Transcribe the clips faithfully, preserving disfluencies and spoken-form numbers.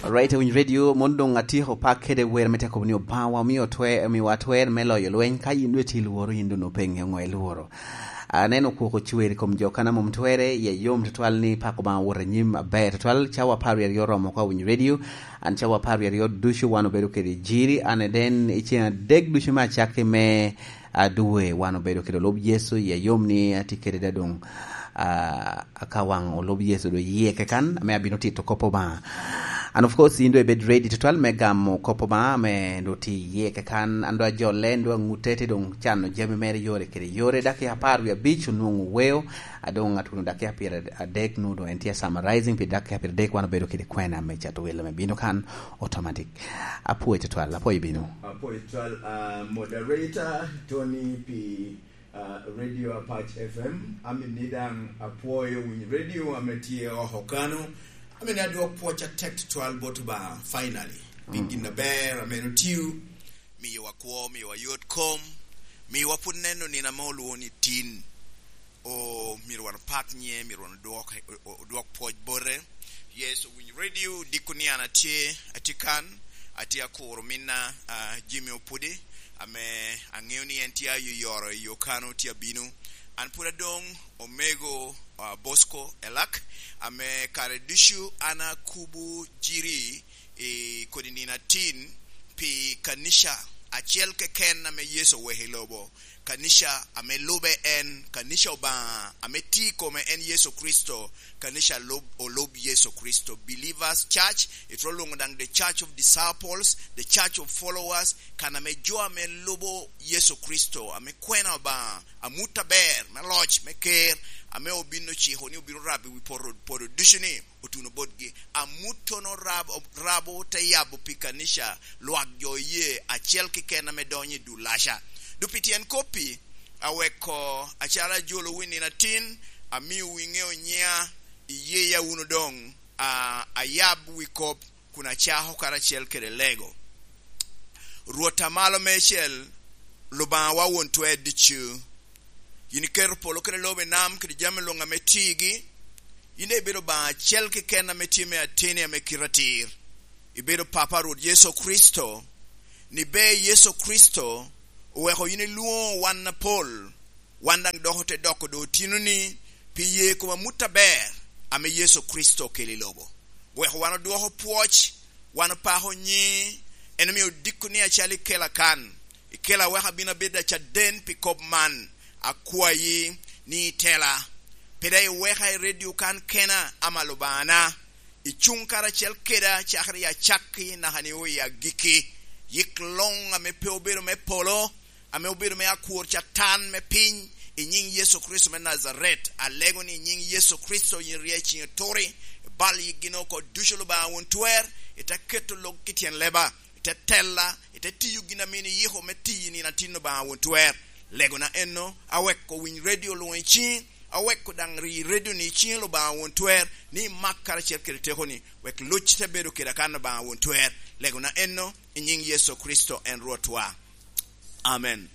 Right, Winyo Radio, mon doŋ atyeko pak kede wer me te kobo ni Obaŋa wa omio twer, omiowa twer me loyo lweny. Ka yin doŋ itye i lworo, yin doŋ opeŋe ŋo ilworo. Aneno kwok ocwer i kom jo kan a mom twerre, iye yom tutwal ni pako Obaŋa wot anyim aber tutwal. Cawa apar wie aryo oromo oko, Winyo Radio. An cawa apar wie aryo ducu wan obedo kede jiri, an eden i ceŋ adek ducu me acakki me a dwe wan obedo kede olub Yecu, iye yom ni atye kede da doŋ, ah, ka waŋ olub Yecu doŋ iye kekan, ame abino tito kop Obaŋa. And of course, yin doŋ ibed ready tutwal me gamo kop Obaŋa, ame doŋ tye iye kekan, an doŋ ajole, an doŋ aŋute, te doŋ cano jami mere yore kede yore. Dakika apar wie abic onwoŋo weo, a doŋ atuno dakika pyeradek, nu doŋ en tye summarizing, pi dakika pyeradek wan obedo kede kwena me cato welo me bino kan automatic. Apwoyo tutwal, apwoyo bino. Apwoyo tutwal, ah, moderator Tony pi, ah, Radio Apac F M. Amini daŋ apwoyo Winyo Radio ame tye oko kano. Amini adwok pwoc atek tutwal bot Obaŋa, finally. Pi gin aber ame en otio, miyowa kwo, miyowa yot kom, miyowa pwod neno nino ame olwoŋo ni tin. O, myero wan opak nyiŋe, myero wan odwok, o-, o-, odwok pwoc bote. Yes, Winyo Radio, diko ni an atye, atye kan, atye akuro minna, ah, Jimmy Opudi, ame aŋeo ni en tye ayoyoro i yo kano tye abino. An pwod adoŋ omego, ah, Bosco Elak, ame kare ducu an akubo jiri i kodi nino atin pi kanica acel keken ame Yecu oweko i lobo, kanica ame lube en, kanica Obaŋa ame tye i kome en Yecu Kricito, kanica lub, olub Yecu Kricito, Believers Church, itwero lwoŋo daŋ the Church of Disciples, the Church of Followers, kan ame jo ame lubo Yecu Kricito, ame kwena Obaŋa, amut aber me loc, me ker, ame obin ociko ni obino rabo i wi poto, poto ducu ni, otuno botgi. Amuttono rabo, rabo te yabo pi kanica, lwak jo oye acel keken ame donyo i dulaca. Dok pi tyen kop-pi, aweko acalo ajolowu i nino atin, amiowu iŋeo nyiŋa, iyeya wunu doŋ, a, ayab wi kop, kun acako karacel kede lego. Rwot a malo meicel, Lubaŋawa won twer ducu, yin iketo polo kede lobo i nam kede jami luŋ ame tigi. Yin daŋ ibedo Obaŋa acel keken ame tye me ateni ame kite atir. Ibedo Papa Rwot Yecu Kricito, ni ber Yecu Kricito oweko yin ilwoŋo wan apol, wan daŋ dok ote doko doŋ otinoni pi ye kom amut aber ame Yecu Kricito okelo i lobo. Weko wan odwoko pwoc, wan opako nyiŋi, en omio odiko ni acalo ikela kan. Ikela wek abin abedo acaden pi kop man. Akwayi ni itela. Pe daŋ iweka i redio kan kena, ama Lubaŋana. Icuŋ karacel keda cakere i acakki naka ni o i agikki. Yik luŋ ame pe obedo me polo, ame obedo me akwor Catan me piny, i nyiŋ Yecu Kricito me Najaret. Alego ni i nyiŋ Yecu Kricito yin ryec, yin ituri, ibal yikgi oko ducu Lubaŋa won twer, ite keto lok i tyen leba. Ite tella, ite tiyo gin a mini iyiko me tiyo i nino atin Obaŋa won twer. Legona enno, aweko winy redio luŋ i ciŋi, aweko daŋ ri redio ni i ciŋi Obaŋa won twer, ni imak karacel kede tekoni, wek loc te bedo kede akan Obaŋa won twer. Legona enno, i nyiŋ Yecu Kricito en Rwotwa. Amen.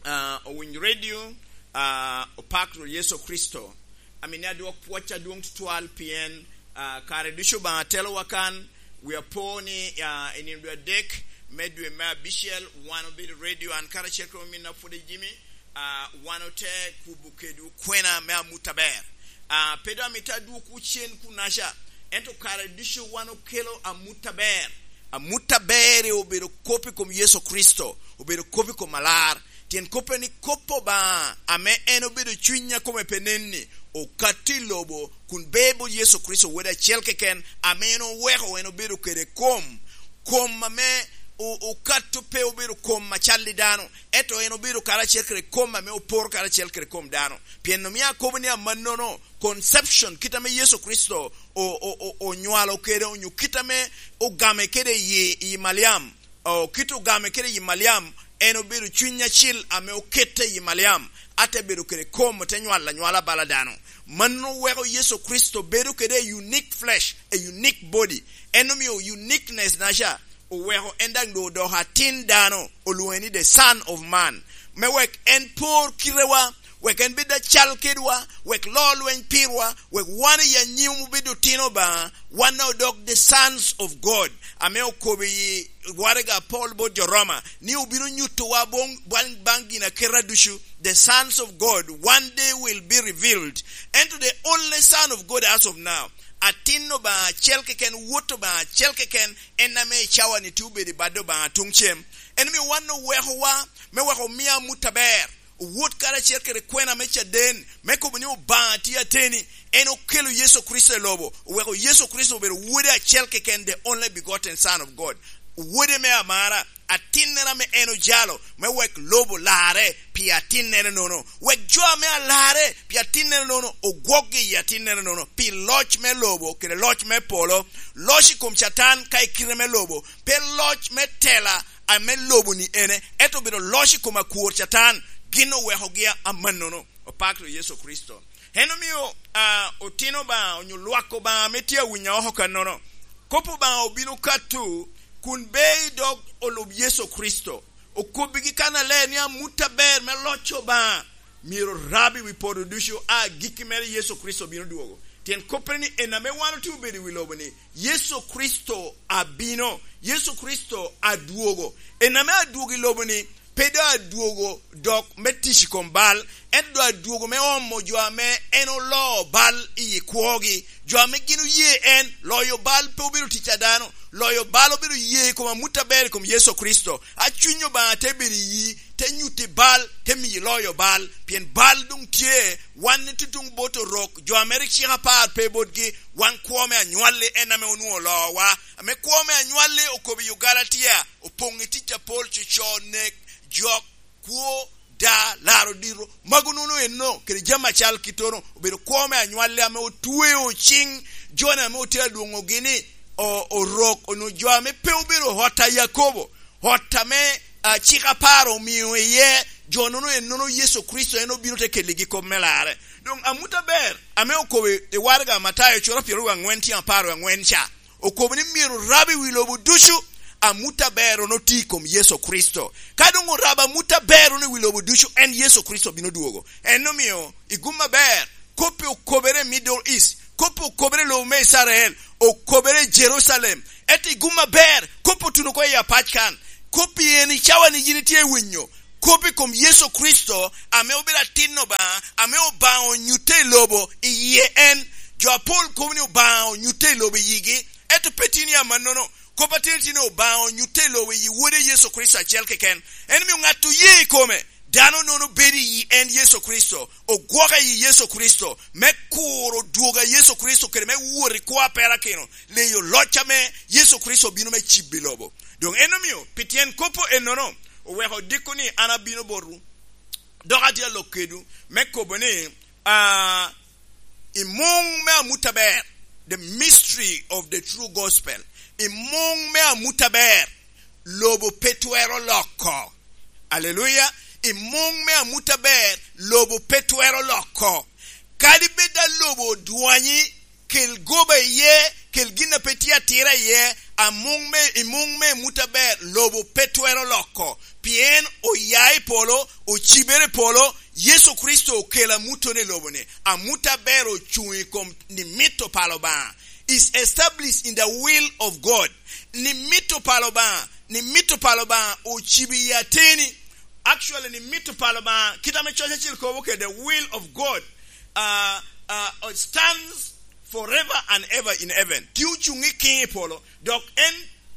Ah, owiny redio, ah, opak Rwot Yecu Kricito. Amini adwok pwoc adwoŋ tutwal pien, ah, kare ducu Obaŋa telowa kan. Wi apo ni, ah, i nino dwe adek me dwe me abicel, wan obedo redio, an karacel kede ominna pwod i Jimmy, ah, wan ote kubo kedwu kwena me amut aber. Ah, pe doŋ amito adwokwu cen kunaca, ento kare ducu wan okelo amut aber. Amut aber obedo kop i kom Yecu Kricito, obedo kop i kom alar. Tyen kop en ni kop Obaŋa, ame en obedo cuny a kome pe nen-ni, okato i lobo, kun beo bot Yecu Kricito Wode acel keken, ame en oweko en obedo kede kom. Kom ame o-, okato pe obedo kom acal i dano, ento en obedo karacel kede kom ame oporo karacel kede kom dano. Pien omio akobo ni amannono, conception, kit ame Yecu Kricito o-, o-, o-, onywalo kede, onyo kit ame ogame kede i, i Maliam, o, kit ogame kede i Maliam, en obedo cuny acil ame okette i Maliam, ate bedo kede kom, ote nywalo anywala bala dano. Mano weko Yecu Kricito bedo kede a unique flesh, a unique body. En omio uniqueness naca oweko en daŋ doŋ odoko atin dano, olwoŋe ni the Son of Man, me wek en por kitewa, wek en bed acal kedwa, wek lo lweny pirwa, wek wan i anyim obed otino Obaŋa, wan daŋ odok the sons of God, ame okobo i waraga Paul bot jo Roma, ni obino nyutowa boŋ, baŋ, baŋ ginaketa ducu, the sons of God, one day will be revealed. Ento the only son of God as of now, atin Obaŋa acel keken, wot Obaŋa acel keken, en ame i cawa-ni tye obedo i bad Obaŋa tuŋ cem. En omio wan owekowa, me wek omi amut aber, owot karacel kede kwena me caden, me kobo ni Obaŋa tye ateni. En okelo Yecu Kricito i lobo, oweko Yecu Kricito obedo Wode acel keken, the only begotten Son of God, Wode me amara, atinnere ame en ojalo, me wek lobo larre pi atinnere nono, wek jo ame alarre pi atinnere nono ogwokgi i atinnere nono, pi loc me lobo kede loc me polo, loc i kom Catan ka i kite me lobo, pe loc me tela ame lobo-ni ene, ento obedo loc i kom akwor Catan, gin owekogi a-, amannono. Opak ru Yecu Kricito. En omio, a, otino Obaŋa, onyo lwak Obaŋa ame tye awinyo oko kannono. Kop Obaŋa obino kato, kun be i dog olub Yecu Kricito. Okobbigi kannaler ni amut aber me loc Obaŋa myero rab i wi podo ducu, a agikki mere Yecu Kricito bino dwogo. Tyen koppere ni en ame wan otye obedo i wi lobo-ni, Yecu Kricito abino, Yecu Kricito adwogo. En ame adwogo i lobo-ni, pe doŋ adwogo dok me tic i kom bal, ento doŋ adwogo me omo jo ame en oloo bal i kwogi, jo ame gin oye en, loyo bal pe obedo tic a dano, loyo bal obedo ye i kom amut aber i kom Yecu Kricito. A Cuny Obaŋa te bedo i yi, te nyutti bal, te miyi loyo bal, pien bal doŋ tye. Wan itutuŋ bot Orok, jo ame rik cik apar pe botgi, wan kwo me anywalli en ame onwoŋo oloowa, ame kwo me anywalli okobo i Ogalatia, opoŋ i tic apol, coco, nek, jok, kwo, da, laro dito, magu nono enno, kede jami acal kittono, obedo kwo me anywalli ame otweo ciŋ joni ame otye alwoŋogi ni o-, Orok, onwoŋo jo ame pe obedo ot a Yakobo, ot ame, a, cik apar omio iye, jo nono ennono Yecu Kricito en obino te keligi kop me larre. Doŋ amut aber ame okobo i waraga Matayo cura pyeraryo aŋwen tyen apar aŋwen ca, okobo ni myero orab i wi lobo ducu amut aber-ru oti i kom Yecu Kricito. Ka doŋ orabo amut aber-ru i wi lobo ducu, en Yecu Kricito bino dwogo. En omio i gum aber, kop-pi okobere i Middle East, kop-pi okobere i lobo me Icrael, okobere i Jerucalem. Ento i gum aber, kop-pi otuno oko i apac kan. Kop-pi en i cawa-ni yin itye winyo. Kop i kom Yecu Kricito, ame obedo atin Obaŋa, ame Obaŋa onyutte i lobo i yie en. Jo apol kobo ni Obaŋa onyutte i lobo i yigi, ento pe tin i amannono. Kop atin tye ni Obaŋa onyutte i lobo i yi Wode Yecu Kricito acel keken. En omio ŋat oye i kome, dano nono bedo i yi en Yecu Kricito, ogwoke i yi Yecu Kricito, me kuro dwogo a Yecu Kricito kede me wot i kwo a perakino, leyo loc ame Yecu Kricito obino me cibo i lobo. Doŋ en omio, pi tyen kop ennono, oweko odiko ni an abino botwu, dok atye alok kedwu, me kobo ni, ah, i muŋ me amut aber, the mystery of the true gospel, i muŋ me amut aber, lobo pe twero loko. Aleluya! I muŋ me amut aber, lobo pe twero loko. Kadi bed a lobo odwanyi, kel goba iye, kel gin a pe tye atira iye, a muŋ me, i muŋ me amut aber, lobo pe twero loko. Pien oya i polo, ocibere i polo, Yecu Kricito okelo amuttono i lobo-ni. Amut aber ocuŋ i kom ni mito palo Obaŋa. Is established in the will of God. Ni mito palo Obaŋa, ni mito palo Obaŋa ocibo i ateni. Actually, ni mito palo Obaŋa, kit ame coc acel kobo kede, the will of God, uh, uh, stands forever and ever in heaven. Tye ocuŋ i kiŋ i polo, dok en,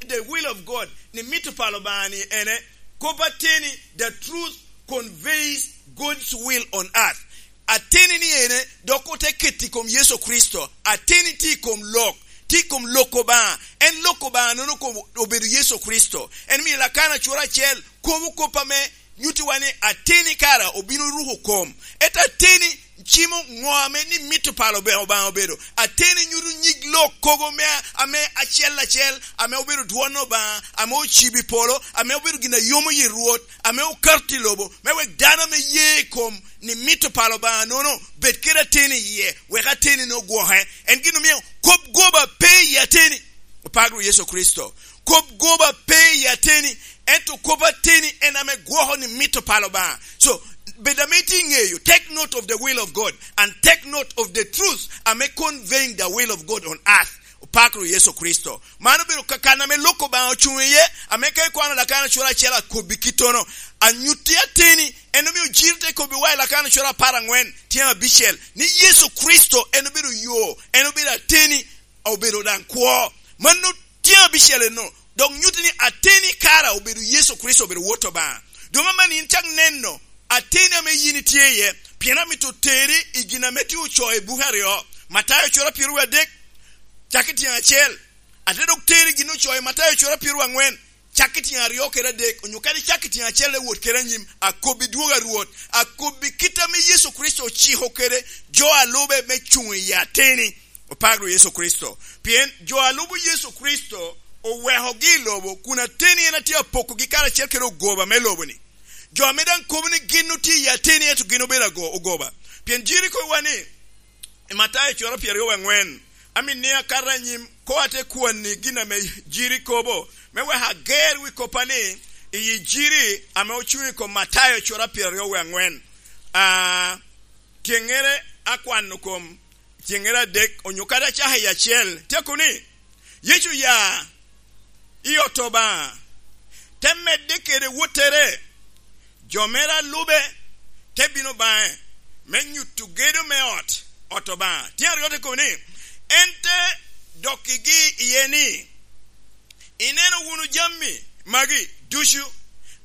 the will of God, ni mito palo Obaŋa ni ene, kop ateni, the truth conveys God's will on earth. Ateni ni ene, dok ote keto i kom Yecu Kricito. Ateni tye i kom lok, tye i kom lok Obaŋa. En lok Obaŋa nono kom obedo Yecu Kricito. En miyo Lakana cura acel kobo kop ame nyutiwa ni ateni kara obino ruko kom. Ento ateni cimo ŋo ame ni mito palo Obaŋa obedo. Ateni nyuto nyig lok kogo me, ame acel acel, ame obedo dwon Obaŋa, ame ocibo i polo, ame obedo gin a yomo yi Rwot, ame okato i lobo, me wek dano ame ye i kom ni mito palo Obaŋa nono bed kede ateni iye, wek ateni-nu ogwoke. En gin omio kop goba pe i ateni. Opak Rwot Yecu Kricito. Kop goba pe i ateni, ento kop ateni en ame gwoko ni mito palo Obaŋa. So, bed ame itye i ŋeyo, take note of the will of God and take note of the truth ame conveying the will of God on earth. Opak ru Yecu Kricito. Man obedo ka-, kan ame lok Obaŋa ocuŋ iye, ame ka ikwano Lakana cura acel akobbi kittono, anyutti ateni, en omio Jiri te kobbi wa i Lakana cura apar aŋwen, tyen abicel, ni Yecu Kricito en obedo yo, en obedo ateni, obedo daŋ kwo. Mano tyen abicel enno, dok nyutti ni ateni kara obedo Yecu Kricito, obedo Wot Obaŋa. Doŋ amanni in cak neno ateni ame yin itye iye, pien amito teri i gin ame tye ocoo i buke aryo, Matayo cura pyeraryo adek, cak i tyen acel, ate dok teri i gin ocoo i Matayo cura pyeraryo aŋwen, cak i tyen aryo kede adek, onyo kadi cak i tyen acel, te wot kede anyim, akobbi dwogo a Rwot, akobbi kit ame Yecu Kricito ociko kede jo a lube me cuŋ i ateni. Opak ru Yecu Kricito. Pien jo a lubo Yecu Kricito owekogi i lobo, kun ateni en atye apokogi karacel kede ogoba me lobo-ni. Jo ame daŋ kobo ni gin otye i ateni, ento gin obedo ago-, ogoba. Pien Jiri kobowa ni, i Matayo cura pyeraryo aŋwen, amin ni akato anyim, ko ate kwanni gin ame Jiri kobo, me wek ager wi koppa ni, i Jiri ame ocuŋ i kom Matayo cura pyeraryo aŋwen. Ah, tyeŋŋere akwano kom tyeŋŋere adek, onyo kadi acaka i acel, tyeko ni, Yecu oya i ot Obaŋa, te medde kede wottere, jo mere a lube te bino baŋe me nyuto gedo me ot, ot Obaŋa. Tyen aryo te kobo ni, en te dokkigi iye ni, ineno wunu jami magi ducu,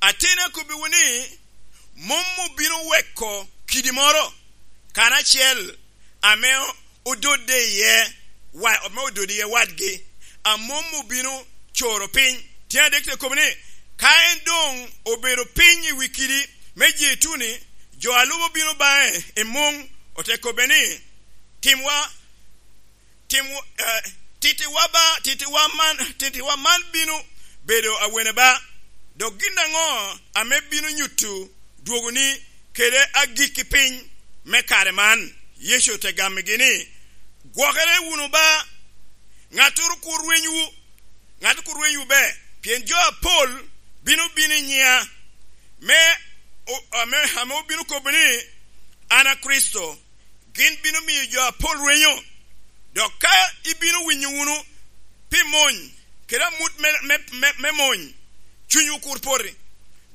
ateni akobbiwu ni, mom obino weko kidi moro karacel ame ododde iye, wa-, ame ododde iye wadgi, a mom obino coro piny. Tyen adek te kobo ni, ka en doŋ obedo piny i wi kidi me Jeituni, jo a lubo bino baŋe i muŋ, ote kobbe ni, timwa, tim, eh, tittiwa ba, tittiwa man, tittiwa man bino bedo awene ba? Dok gin aŋo ame bino nyuto dwogoni kede agikki piny me kare man? Yecu te gammigi ni, gwokere wunu ba, ŋattoro kur rwenywu, ŋattoro kur rwenywu be, pien jo apol bino bino i nyiŋa, me o-, ame, ame obino kobo ni, an a Kricito, gin bino miyo jo apol rwenyo. Dok ka ibino winyo wunu pi mony kede amut me, me, me, me mony, cunywu kur poti.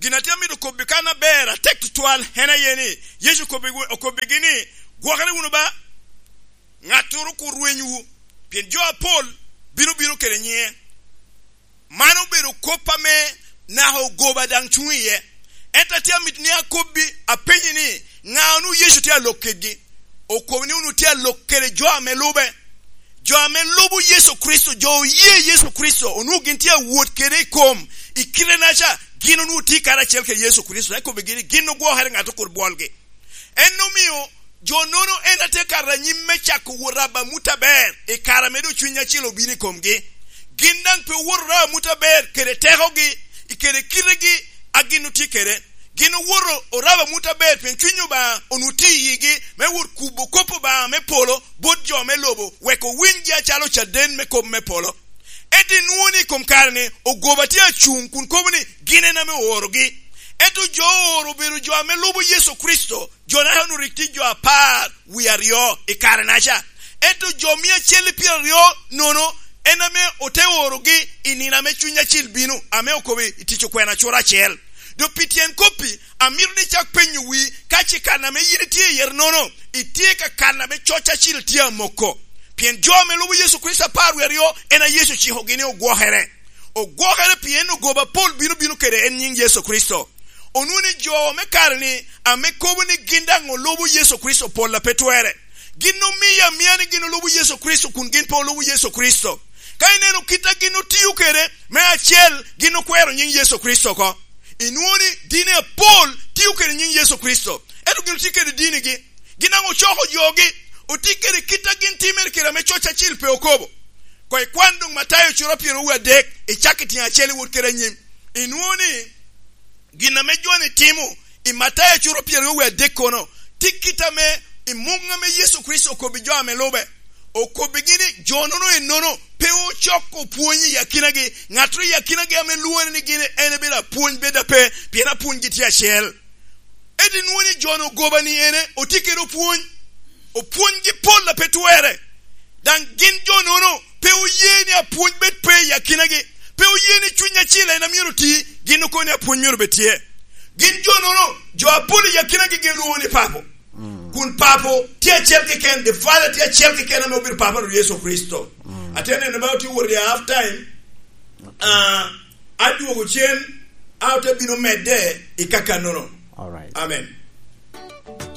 Gin atye amito kobbi kan aber atek tutwal en aye ni, Yecu okobbi-, okobbigi ni, gwokere wunu ba, ŋattoro kur rwenywu, pien jo apol bino bino kede nyiŋe. Man obedo kop ame naka ogoba daŋ cuŋ iye. Ento atye amito ni akobbi, apenyi ni, ŋa onwoŋo Yecu tye alok kedgi? Okobo ni onwoŋo tye alok kede jo ame lube. Jo ame lubo Yecu Kricito, jo oye Yecu Kricito, onwoŋo gin tye awot kede i kom, i kite-naca, gin onwoŋo tye karacel kede Yecu Kricito. Eka kobbigi ni gin ogwokere, ŋat okur bwolgi. En omio jo nono en atye kato anyim me cako wot rabo amut aber i kare ame doŋ Cuny Acil obino i komgi. Gin daŋ pe owoto orabo amut aber kede tekogi, i kede kitegi a gin otye kede. Gin owoto orabo amut aber pien Cuny Obaŋa onwoŋo tye i yigi me wot kubo kop Obaŋa me polo bot jo me lobo, wek owinyi acalo caden me kop me polo. Ento inwoŋo ni i kom kare-ni, ogoba tye acuŋ kun kobo ni gin en ame oorogi. Ento jo ooro obedo jo ame lubo Yecu Kricito, jo-naca onwoŋo rik tye jo apar wie aryo i kare-naca. Ento jo mia acel i pyeraryo nono en ame ote orogi i nino ame Cuny Acil bino, ame okobo i Tic Okwena cura acel. Doŋ pi tyen kop-pi, amito ni icak penyo wii, ka ce kan ame yin itye iye nono, itye ka kan ame Coc Acil tye amoko. Pien jo ame lubo Yecu Kricito apar wie aryo, en a Yecu ocikogi ni ogwokere. Ogwokere pien ogoba apol bino bino kede en nyiŋ Yecu Kricito. Onwoŋo ni jo me kare-ni ame kobo ni gin daŋ olubo Yecu Kricito pol a pe twerre. Gin omiyo amia ni gin olubo Yecu Kricito kun gin pe olubo Yecu Kricito. Ka ineno kit a gin otio kede, me acel, gin okwero nyiŋ Yecu Kricito oko. Inwoŋo ni dini apol tio kede nyiŋ Yecu Kricito, ento gin otye kede dinigi. Gin daŋ ocoko jogi, otye kede kit a gin timere kede ame Coc Acil pe okobo. Koŋ ikwan doŋ Matayo cura pyeraryo wie adek, icak i tyen acel iwot kede anyim. Inwoŋo ni gin ame jo-ni timo i Matayo cura pyeraryo wie adek kono, tye kit ame i muŋ ame Yecu Kricito okobbi jo ame lube. Okobbigi ni jo-nono ennono pe ocoko pwony i akinagi, ŋattoro i akinagi ame lwoŋere ni gin en ebedo apwony bed ape, pien apwonygi tye acel. Ento inwoŋo ni jo-nu ogoba ni ene, otye kede opwony. Opwonygi pol a pe twerre. Daŋ gin jo-nono pe oye ni apwony bed pe i akinagi. Pe oye ni Cuny Acil en a myero oti, gin okobo ni apwony myero bed tye. Gin jo-nono, jo apol i akinagi gin lwoŋo ni papo. Mm. Kun papo tye acel keken, the father tye acel keken ame obedo papo, Rwot Yecu Kricito. Mm. Atye neno ba otye wot i half time. Okay. Ah, adwogo cen, a ote bino medde i kakannono. All right. Amen.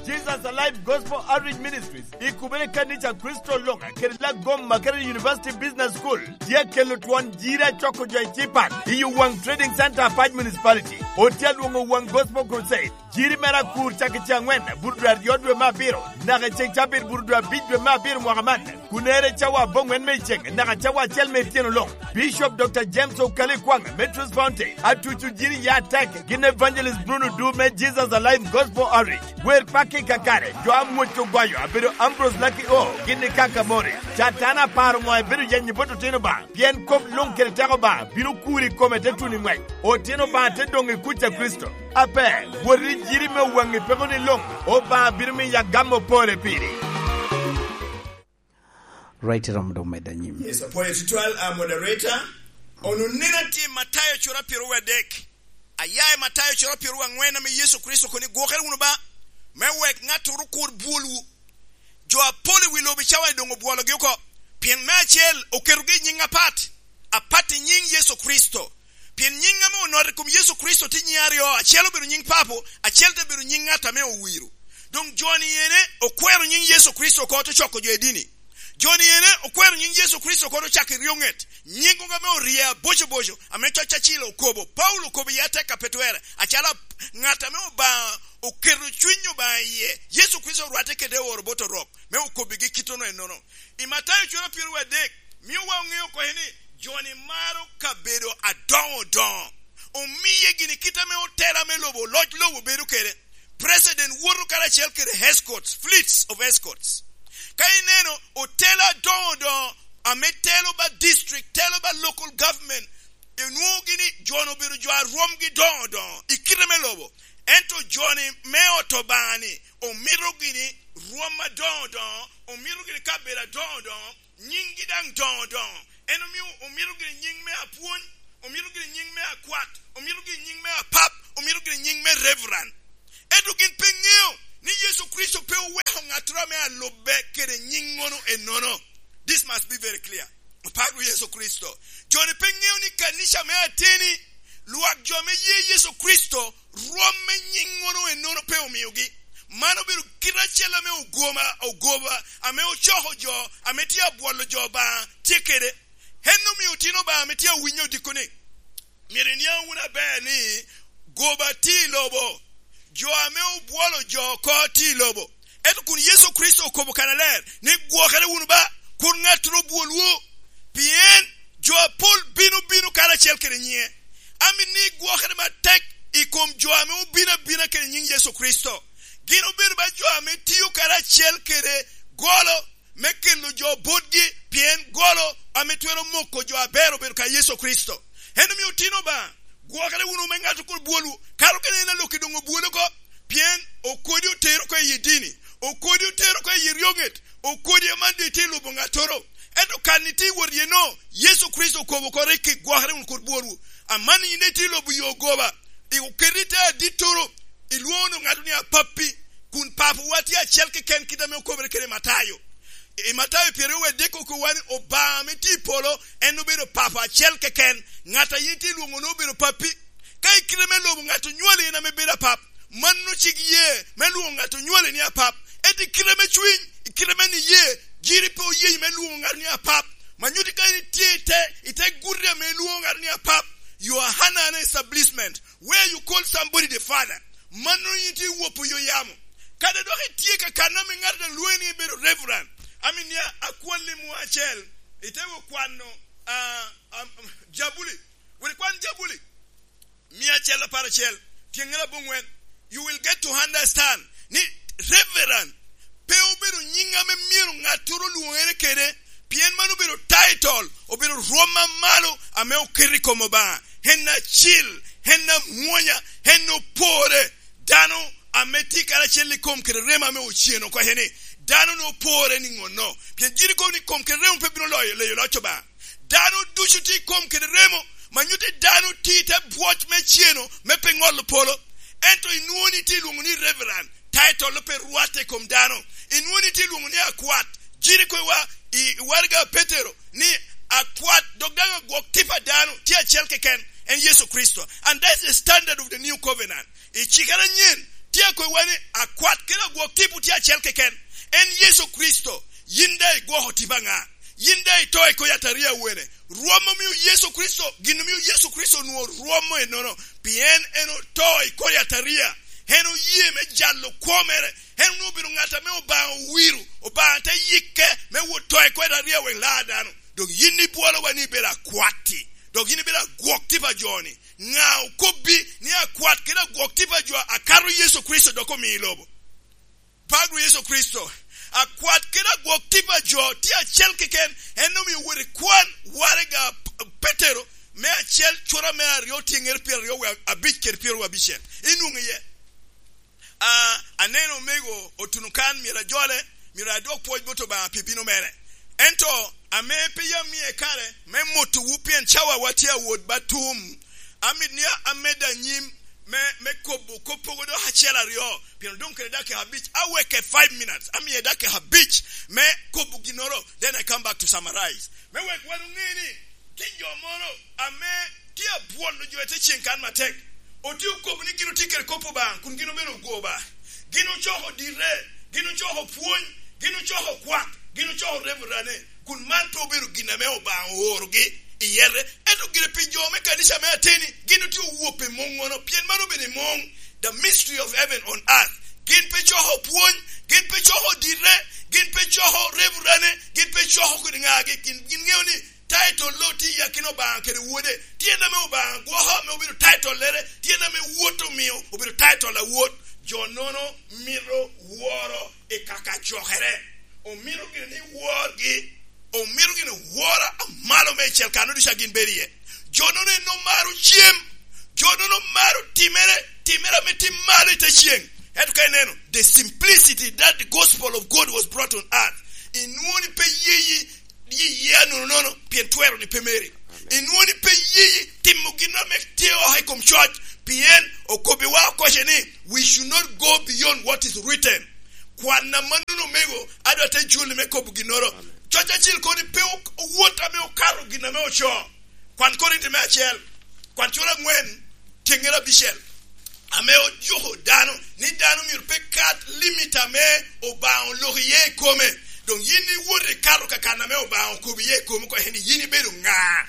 Jesus Alive Gospel Outreach Ministries, i kubere kanica Kricito luŋ, kede Lagoma kede University Business School, tye kelo twon jiri acoko jo i Cipat, i Owaŋ Trading Center, Apac Municipality. Otye alwoŋo Owaŋ Gospel Crusade, jiri mere akur cak i ce aŋwen, bur dwe aryo dwe me abiro, naka i ceŋ cabit bur dwe abic dwe me abiro mwaka man. Kun ere cawa aboŋwen me iceŋ, naka cawa acel me ityeno luŋ. Bishop Doctor James Okali Kwaŋ me Truth Fountain, atuco jiri ya tek, gin Evangelist Bruno Du me Jesus Alive Gospel Outreach. Wer pakki kakare, jo amwoc ogwayo, abedo Ambrose Lucky O, gin i Kakamori. Catana aparo ŋo ebedo yenyo bot otino ba? Pien kop luŋ kede teko ba, bino kuri kome te tuno i ŋwec. Otino ba te doŋ i kuc a Kricito. Ape, wot i jiri me Owaŋ i peko ni luŋ, Obaŋa bino miyo agam opore piri. Right, rom do medda nyim. Yes, apwoyo tutwal, uh, moderator. Ononina tye i Matayo cura pyero wiye adek. Aya i Matayo cura pyero wiye aŋwen ame Yecu Kricito okobo ni, "Gwokere wunu ba, me wek ŋattoro kur bwolwu." Jo apol i wi lobo i cawa-ni doŋ obwologi oko, pien me acel oketogi i nyiŋ apat, apat i nyiŋ Yecu Kricito. Pien nyiŋ ame onoto i kom Yecu Kricito tye nyiŋ aryo, acel obedo nyiŋ Papo, acel te bedo nyiŋ ŋat ame owiro. Doŋ jo-ni ene okwero nyiŋ Yecu Kricito oko, te coko jo i dini. Jo-ni ene okwero nyiŋ Yecu Kricito oko, te ocako i ryoŋet. Nyiŋ ame orye abocoboco, ame Cuny Acil okobo. Paulo okobo iye atek a pe twerre, acalo ŋat ame Obaŋa oketo Cuny Obaŋa iye. Yecu Kricito orwatte kede oro bot Orok, me okobbigi kittono ennono. I Matayo cura pyero wiye adek, mio wa oŋeo oko ni, jo-ni maro kabedo adoŋo doŋo. Omiye gini kit ame otela me lobo, loc lobo bedo kede. President woto karacel kede escorts, fleets of escorts. Ka ineno otela adoŋo doŋo, ame telo ba district, telo ba local government, inwoŋogi ni jo-nu obedo jo a rwomgi doŋo doŋo i kite me lobo. Ento jo-ni me ot Obaŋa-ni omito gini rwom adoŋo doŋo, omito gini kabedo adoŋo doŋo, nyiŋgi daŋ doŋo doŋo. En omio omito gini nyiŋ me apwony, omito gini nyiŋ me akwat, omito gini nyiŋ me apap, omito gini nyiŋ me reverend. Ento gin pe ŋeo ni Yecu Kricito pe oweko ŋattoro ame alubbe kede nyiŋŋono ennono. This must be very clear. Aparo Yecu Kricito. Jo-ni pe ŋeo ni kanica me ateni, lwak jo ame ye Yecu Kricito, rwom me nyiŋŋono ennono pe omiogi. Man obedo kite acel ame ogoma, ogoba, ame ocoko jo, ame tye abwolo jo Obaŋa, tye kede. En omio otino Obaŋa ame tye awinyo odiko ni, myero iniaŋ wunu aber ni goba tye i lobo, jo ame obwolo jo oko tye i lobo. Ento kun Yecu Kricito okobo kannaler ni, "Gwokere wunu ba, kur ŋattoro obwolwu, pien jo apol bino bino karacel kede nyiŋe." Amito ni igwokere matek i kom jo ame obino abina kede nyiŋ Yecu Kricito. Gin obedo ba jo ame tio karacel kede golo me kelo jo botgi, pien golo ame twero moko jo aber obedo ka Yecu Kricito. En omio otino Obaŋa, gwokere wunu me ŋattoro kur bwolwu, kato kede en a Lok-ki doŋ obwolo oko, pien okodi otero oko i dini, okodi otero oko i ryoŋet, okodi aman doŋ itye i lubo ŋattoro. Ento kan itye i wot iye no, Yecu Kricito okobo oko rik, "Gwokere wunu kur bwolwu." Aman in itye i lubo yo ogoba, i oketi i te adittoro, ilwoŋo ŋato ni apappi, kun Papawa tye acel keken kit ame okobere kede i Matayo. I Matayo pyeraryo wiye adek okowa ni Obaŋa ame tye i polo, en obedo Papa acel keken. Ŋat a yin tye i lwoŋo ni obedo pappi. Ka i kite me lobo ŋat onywali en ame bedo apap, mano cik ye me lwoŋo ŋat onywali ni apap. Ento i kite me cwiny, i kite me niye, jiri pe oye me lwoŋo ŋat ni apap. Ma nyutti ka in itye i te, i te guti ame ilwoŋo ŋat ni apap, you are under an establishment where you call somebody the father. Mano yin tye iwopo yo yamo. Kadi dok itye ka kan ame ŋat daŋ lwoŋi ni ibedo reverend. Amin ya akwalli mwa acel. Itego kwano, ah, um, um, Jabuli. Wek ikwan Jabuli mia acel apar acel, tyeŋŋe aboŋwen. You will get to understand ni reverend pe obedo nyiŋ ame myero ŋattoro lwoŋere kede, pien mano obedo title, obedo rwom amalo ame oketo i kom Obaŋa. En acil, en amwonya, en opore. Dano ame tye karacel i kom kede remo ame oceno oko ni, dano nwoŋo pore niŋo no? Pien gin ikobo ni kom kede remo pe bino loyo leyo loc Obaŋa. Dano ducu tye i kom kede remo, ma nyutte dano tye i te bwoc me ceno me pe ŋolo polo. Ento inwoŋo ni tye i lwoŋo ni Reverend, title pe rwatte i kom dano. Inwoŋo ni tye i lwoŋo ni akwat. Gin ikobo i waraga Petero ni akwat, dok daŋ agwok tip a dano tye acel keken, en Yecu Kricito. And that's the standard of the new covenant. I cikere anyen, tye akobo ni akwat kede agwok tipo tye acel keken, en Yecu Kricito. Yin daŋ igwoko tipo aŋa? Yin daŋ ito i kor yataria wene? Rwom omio Yecu Kricito, gin omio Yecu Kricito onwoŋo rwom ennono, pien en oto i kor yataria. En oye me jalo kwo mere. En onwoŋo obedo ŋat ame Obaŋa owiro, Obaŋa te yikke me wot to i kor yataria wek lar dano. Dok yin ibwolowa ni ibedo akwatti, dok yin ibedo agwok tipo a jo-ni. Ŋa okobbi ni akwat kede agwok tipo a jo akato Yecu Kricito dok omio i lobo? Pagro Yecu Kricito, akwat kede agwok tipo a jo tye acel keken, en omio wot i kwan waraga P-, Petero me acel cura me aryo tyeŋŋere pyeraryo wie abic kede pyeraryo abicel. Inwoŋo iye? A, aneno omego otuno kan, myero ajole, myero adwok pwoc bot Obaŋa pi bino mere. Ento ame pe yam mie kare me motowu pien cawawa tye awot ba tum, amito ni a-, amed anyim me, me kobo kop mogo dok acel aryo, pien odoŋ kede dakika abic, aweke five minutes, amie dakika abic me kobo ginnoro, then I come back to summarize. Me wek wan oŋe ni tye jo moro ame tye abwolo jo i te ceŋ kan matek. Otye okobo ni gin otye kede kop Obaŋa, kun gin obedo ogoba. Gin ocoko dire, gin ocoko pwony, gin ocoko kwak, gin ocoko reverane, kun man pe obedo gin ame Obaŋa oorogi i yete. Ento gire pi jo me kanica me ateni, gin otye owop i muŋŋono, pien man obedo i muŋ, the mystery of heaven on earth. Gin pe coko pwony, gin pe coko dire, gin pe coko reverane, gin pe coko kodi ŋagi, gin, gin ŋeo ni title lo tye i akina Obaŋa kede Wode. Tyen ame Obaŋa gwoko ame obedo title-lere, tyen ame Wot omio obedo title a Wot. Jo nono mito woro i kaka cokere. Omito gire ni worgi, omito gire woro amalo meicel kano ducu a gin bedo iye. Jo nono en omaro cem, jo nono maro timere, timere ame tim malo i te ceŋ. Ento ka ineno, the simplicity that the gospel of God was brought on earth, inwoŋo ni pe yeyi Yi, yi anononono, pien twero ni pe meri. Amen. Inwoŋo ni pe yeyi timo gin ame tye oko i kom coc, pien okobbiwa okoce ni, "We should not go beyond what is written." Kwan amannono, omego, adwa te juli me kobo ginnoro. Amen. Coc acel kono ni pe ok-, owot ame okato gin ame ocoo. Kwan Korinti me acel, kwan cura aŋwen, tyeŋŋere abicel, ame ojuko dano, ni dano myero pe kat limit ame Obaŋa oloko iye i kome. Doŋ yin iwot ikato ka kan ame Obaŋa okobo iye i komi oko, ni yin ibedo ŋa?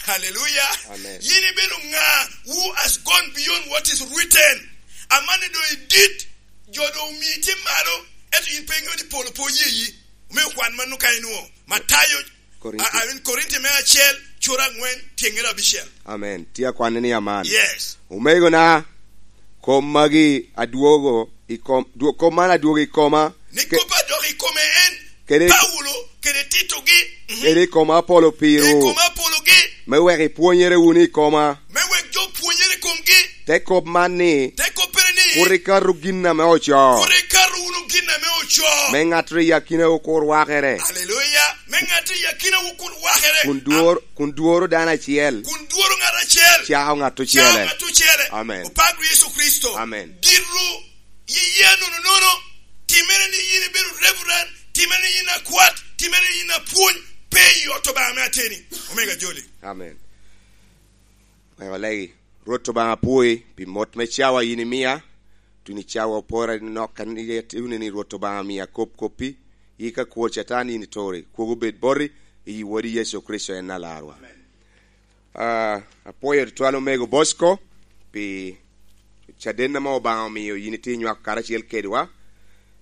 Haleluya! Amen. Yin ibedo ŋa? Who has gone beyond what is written? Amanni doŋ idit, jo doŋ omii tye malo, ento yin pe iŋeo ni polo pe oyeyi. Omio kwan mano ka inwoŋo. Matayo Korinti. A, a, Korinti me acel, cura aŋwen, tyeŋŋere abicel. Amen. Tye akwanne ni aman. Yes. Omegona, kom magi adwogo i kom, dwo-, kom man adwogo i koma. Ni ke-, kop adok i kome en, kede, Paulo, kede Tito gi. Mhm. Kede i koma apolo piru. I koma apolo gi. Me wek ipwonyere wunu i koma. Me wek jo pwonyere i komgi. Te kop man ni, Te koppere ni, kur ikato gin ame ocoo. Kur ikato wunu gin ame ocoo. Me ŋattoro i akinawu kur wakere. Aleluya. Me ŋattoro i akinawu kur wakere. Kun dwor-, kun dworo dano acel. Kun dworo ŋat acel. Cako ŋat ocele. Cako ŋat ocele. Amen. Opagre Yecu Kricito. Amen. Dito yiye anononono, timere ni yin ibedo reverend, timere ni yin akwat, timere ni yin apwony, pe i ot Obaŋa me ateni. Omega Joli. Amen. Wek olegi. Rwot Obaŋa, apwoyi pi mot me cawa yin imia, tuno i cawa opora nok kan iye, tuno ni Rwot Obaŋa omia kop koppi, yika kwor Catan yin ituri, kwogo bed boti, i Wodi Yecu Kricito en Alarwa. Amen. Ah, apwoyo tutwal omego Bosco pi caden ame Obaŋa omio yin itye nywako karacel kedwa.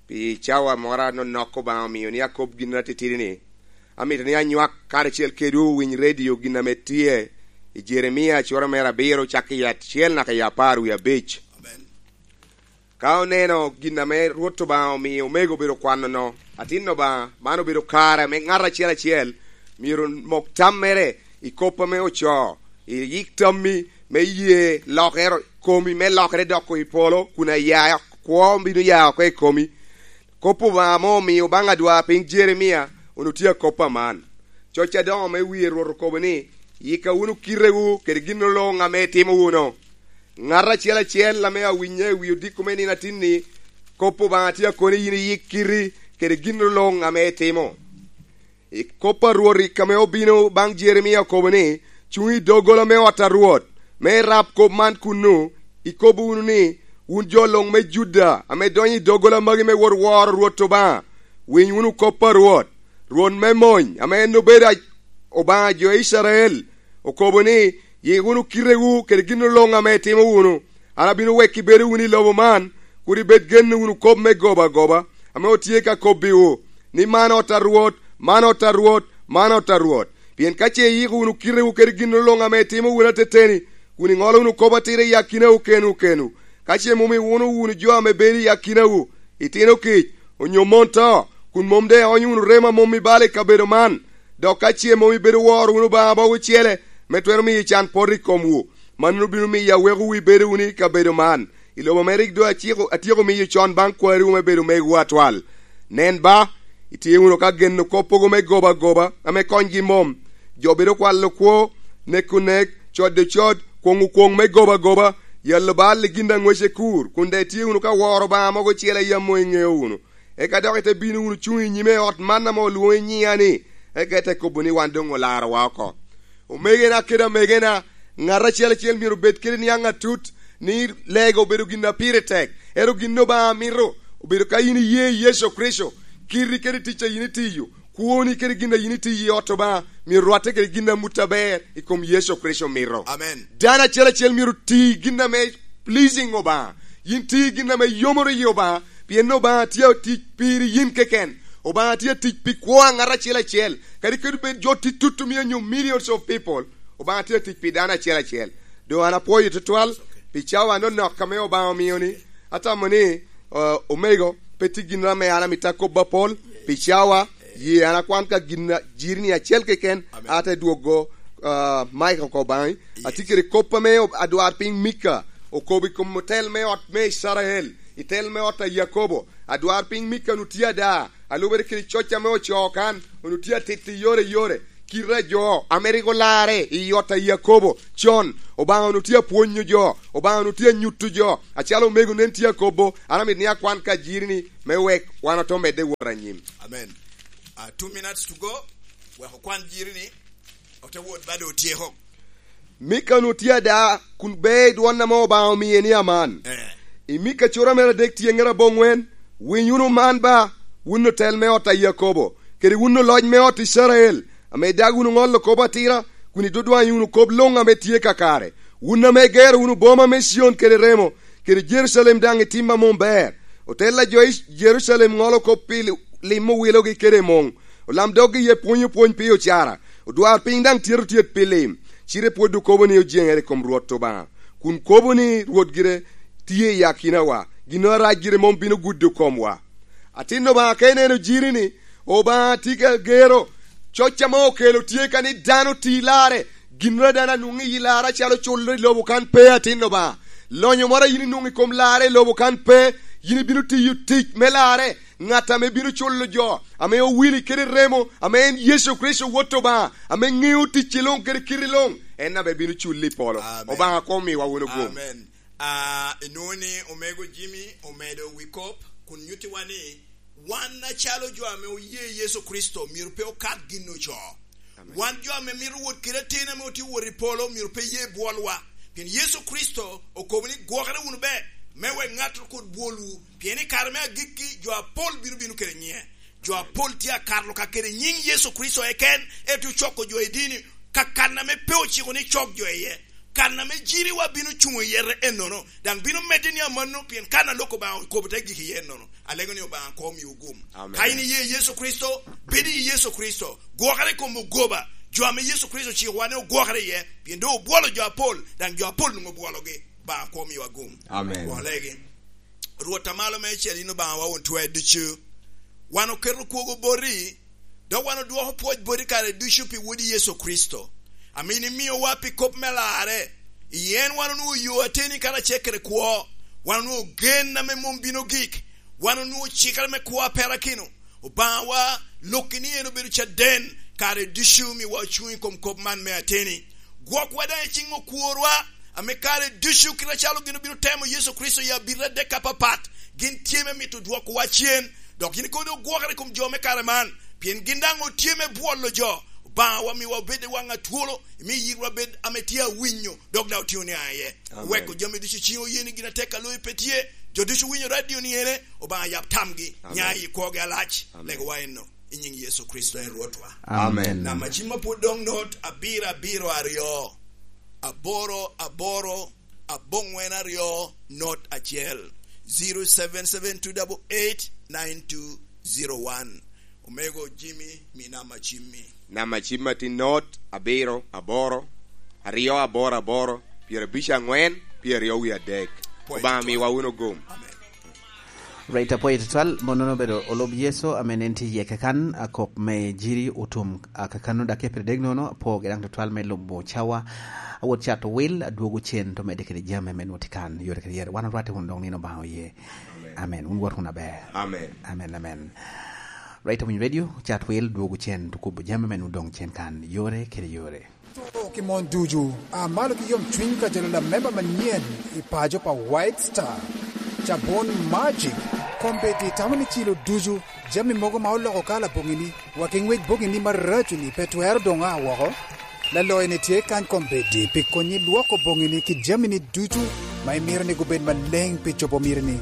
Pi cawa moro anonok Obaŋa omio ni akop gin atitidi ni, amito ni anywak karacel kedwu owiny redio gin ame tye i Jeremia cura mere abiro, cak i acel naka i apar wie abic. Amen. Ka oneno gin ame Rwot Obaŋa omio omego obedo kwano-no, atin Obaŋa, man obedo kare ame ŋat acel acel myero mok tammere i kop ame ocoo, i yik tammi me ye lokere, komi me lokere doko i polo, kun aya kwo bino ya oko i komi. Kop Obaŋa ame omio baŋ adwarpiny Jeremia onwoŋo tye akop aman. Coc adoŋo me wie Rwot okobo ni, "Yika wunu kitewu kede gin luŋ ame itimo wunu." Ŋat acel acel ame awinye i wi odiko me nino atinni, kop Obaŋa tye akoni yin iyik kiti kede gin luŋ ame itimo. I kop a Rwot rik ame obino baŋ Jeremia okobo ni, "Cuŋ i doggola me ot a Rwot, me irab kop man kunnu, ikob wunu ni, 'Wun jo luŋ me Juda ame donyo i doggola magi me wot woro Rwot Obaŋa, winy wunu kop a Rwot, Rwot me mony, ame en obedo a-, Obaŋa jo Icrael, okobo ni, yik wunu kitewu kede gin luŋ ame itimo wunu. An abino weko ibedo wunu i lobo man, kur ibed geno wunu kop me goba agoba, ame otye ka kobbiwu, ni, 'Man ot a Rwot, man ot a Rwot, man ot a Rwot.' Pien ka ce iyiko wunu kitewu kede gin luŋ ame itimo wunu ateteni, kun iŋolo wunu kop atira i akinawu kenwu kenwu, ka ce mom iwuno wunu jo ame bedo i akinawu, itino kic, onyo mon to, kun mom doŋ ionyo wunu remo a mom ibalo i kabedo man, dok ka ce mom ibedo woro wunu Obaŋa mogo ocele, me twero miyo can poto i komwu, mannono bino miyo awekowu ibedo wunu i kabedo man, i lobo ame rik doŋ aciko, atyeko miyo con baŋ kwariwu me bedo megowu atwal. Nen ba, itye wunu ka geno kop mogo me goba agoba, ame konygi mom. Jo bedo kwalo kwo, neko nek, codo cod, kwoŋo kwoŋ me goba agoba, yalo bal i gin a ŋwece kur, kun daŋ itye wunu ka woro Obaŋa mogo ocele a yam mom iŋeo wunu. Eka dok ite bino wunu cuŋ i nyime i ot man ame olwoŋo i nyiŋa-ni, eka ite kobo ni wan doŋ olarowa oko. Omegena kede amegena, ŋat acel acel myero obed kede niaŋ atut, ni lega obedo gin a pire tek, ento gin Obaŋa mito obedo ka yin iye i Yecu Kricito, kiti kede tic a yin itiyo, kwoni kede gin a yin itiyo i ot Obaŋa myero rwatte kede gin a mut aber i kom Yecu Kricito mito. Amen. Dano acel acel myero ti gin ame pleasing Obaŋa. Yin ti gin ame yomoro yi Obaŋa, pien Obaŋa tye atic piri yin keken. Obaŋa tye atic pi kwo a ŋat acel acel. Kadi kede bed jo tye tutu mia nyo millions of people, Obaŋa tye atic pi dano acel acel. Doŋ an apwoyo tutwal pi cawa anonok ame Obaŋa omio-ni. Atamo ni, uh, omego, pe tye gin ame an amito akobo apol pi cawa. Ye an akwan ka gin a-, jiri-ni acel keken, amen, ate dwogo, uh, Mike oko baŋi. Yes. Atye kede kop ame ob-, adwarpiny Mika okobo i kom otel me ot me Icrael, i tel me ot a Yakobo. Adwarpiny Mika onwoŋo tye ada, a lubere kede coc ame ocoo kan, onwoŋo tye atito i yore i yore. Kite a jo ame rik olarre i ot a Yakobo con, Obaŋa onwoŋo tye apwonyo jo, Obaŋa onwoŋo tye anyuto jo, acalo omego nen tye akobo, an amito ni akwan ka jiri-ni me wek wan ote medde wot anyim. Amen. Uh, two minutes to go. Wek okwan jiri-ni, ote wot ba doŋ otyeko. Mika onwoŋo tye ada, kun ber i dwon ame Obaŋa omie ni aman. Eh. I Mika cura mere adek tyeŋere aboŋwen, "Winy wunu man ba, wun otel me ot a Yakobo, kede wun oloc me ot Icrael, ame idag wunu ŋolo kop atira, kun idudwanyo wunu kop luŋ ame tye kakare, wun ame igero wunu boma me Cion kede remo, kede Jerucalem daŋ i tim a mom ber. Otel a jo i Jerucalem ŋolo kop pi li-, limo wilogi kede muŋ. Olamdoggi iye pwonyo pwony pi ocara. Odwarpiny daŋ tyeto tyet pi lim. Cite pwod okobo ni ojeŋere i kom Rwot Obaŋa, kun kobo ni Rwot gire tye i akinawa. Ginnoro arac gire mom bino gudo komwa." Atin Obaŋa, ka ineno jiri-ni, Obaŋa tye ka gero. Coc ame okelo tye ka ni dano ti larre. Ginnoro a dano anwoŋo i larre acalo culo i lobo kan pe, atin Obaŋa. Lonyo moro a yin inwoŋo i kom larre i lobo kan pe, yin ibino tiyo tic me larre. Ŋat ame bino culo jo, ame owili kede remo, ame en Yecu Kricito Wot Obaŋa, ame ŋeo ticci luŋ kede kiti luŋ, en ame bino culli i polo. Amen. Obaŋa koŋ omiwa wunu gum. Amen. Ah, inwoŋo ni omego Jimmy omedo wi kop, kun nyuttiwa ni wan acalo jo ame oye Yecu Kricito myero pe okat gin ocoo. Amen. Wan jo ame mito wot kede atin ame otye wot i polo myero pe ye bwolwa. Pien Yecu Kricito okobo ni, "Gwokere wunu be, me wek ŋattoro kur bwolwu, pien i kare me agikki jo apol bino bino kede nyiŋe." Jo apol tye akato ka kede nyiŋ Yecu Kricito eken, ento coko jo i dini, ka kan ame pe ociko ni cok jo iye. Kan ame jiriwa bino cuŋ iye ennono, daŋ bino medde ni amanno, pien kan a lok Obaŋa okobo te gik iye ennono. Alego ni Obaŋa koŋ omiwu gum. Amen. Ka in iye Yecu Kricito, bed i Yecu Kricito. Gwokere i kom ogoba, jo ame Yecu Kricito ocikowa ni ogwokere iye, pien doŋ obwolo jo apol, daŋ jo apol nwoŋo obwologi. Obaŋa koŋ omiwa gum. Amen. Gwolegi. Rwot a malo meicel, yin Obaŋawa won twer ducu. Wan oketo kwogo boti, dok wan odwoko pwoc boti kare ducu pi Wodi Yecu Kricito, ame yin imiowa pi kop me larre. I en wan onwoŋo yo ateni karacel kede kwo. Wan onwoŋo gen ame mom bino gik. Wan onwoŋo cikere me kwo a perakino. Obaŋawa, lokki ni en obedo caden, kare ducu miwa ocuŋ i kom kop man me ateni. Gwokwa daŋ i ciŋ okworwa, ame kare ducu kite acalo gin obino temo Yecu Kricito i abita adek apapat, gin tye me mito dwokowa cen, dok yin kono ogwokere i kom jo me kare man, pien gin daŋ otye me bwolo jo. Obaŋawa, miwa obed i waŋ atwolo, imi yitwa bed ame tye awinyo, dok daŋ otiyo ni aye. Amen. Weko jami ducu ciŋ oye ni gin atek a loyo pe tye, jo ducu winyo radio ni ene, Obaŋa yab tamgi, Amen. Nya i kwogi alac, Amen. Legowa enno, i nyiŋ Yecu Kricito en Rwotwa. Amen. Amen. Namba cim apwod doŋ not, abiro, abiro, aryo, aboro, aboro, aboŋwen aryo, not acel, zero seven seven two double eight nine two zero one. Omego Jimmy, mi namba cimmi. Namba cimma tye not abiro aboro, aryo aboro aboro, pyerabic aŋwen, pyeraryo wie adek. Praise Obaŋa God. Miwa wunu gum. Amen. Right, apwoyo tutwal, monono obedo olob Yecu, ame nen tye iye kakan, akop me jiri otum, a, kakanno dok e pire dek nono, apwogi daŋ tutwal me lubo cawa, awot cato wil, adwogo cen, to medde kede jami ame nwoŋo tye kan, yore kede yore. Wan orwatte wunu doŋ nino Obaŋa oye. Amen. Wun wot wunu aber. Amen. Amen, amen. Right, Awiny Radio, cat wil, dwogo cen, tukubo jami me nwoŋo doŋ cen kan, yore kede yore. To ki mon ducu, a malo ki yom cwiny ka jalo lamemba manyen i paco pa White Star. Cabon Magic, kombeddi tamo ni cilo ducu, jami mogo ma oloko kala boŋini, wa ki ŋwec boŋini maraco-ni pe twero doŋ a woko. Laloyo-ni tye kany kombeddi pi konyi lwoko boŋini ki jamini ducu ma imito ni gubed maleŋ pi cobo mitini.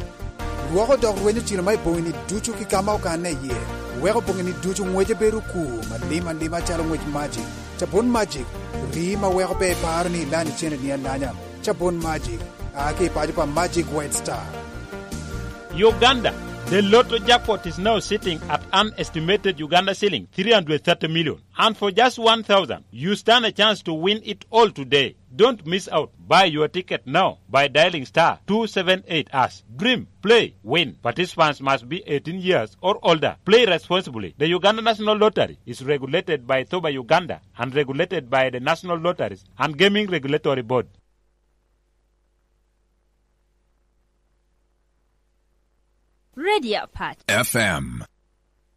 Lwoko dok rwenyo cilo ma i boŋini ducu ki ka ma okanne iye, weko boŋini ducu ŋwece bedo okur malim alima calo ŋwec Magic. Cabun Magic, rii ma weko pe iparo ni ilanyo cene ni alanya. Cabun Magic, a ki i paco pa Magic White Star. Uganda, the lotto jackpot is now sitting at an estimated Uganda shilling three hundred thirty million. And for just one thousand, you stand a chance to win it all today. Don't miss out. Buy your ticket now by dialing star two seven eight hash. Dream, play, win. Participants must be eighteen years or older. Play responsibly. The Uganda National Lottery is regulated by Thoba Uganda and regulated by the National Lotteries and Gaming Regulatory Board. Radio Apac. F M.